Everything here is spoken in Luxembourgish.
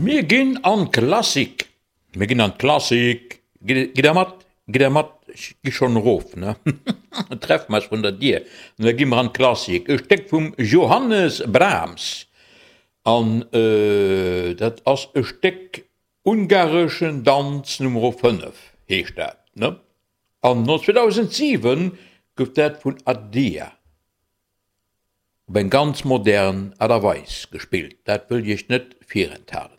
Mir ginn an d'Klassik. Mir ginn an d'Klassik. Gitt der mat? Gitt der mat? Ech gi schonn erof, ne? Treffe mer eis vrun der Dier an da gi mer an d'Klassik. E Stéck vum Johannes Brahms. An dat ass e Stéck Ungareschen Danz Numero 5 heescht dat, ne? An 2007 gouf dat vun Adia op eng ganz modern Aart a Weis gespillt. Dat wëll ech iech net virenthalen.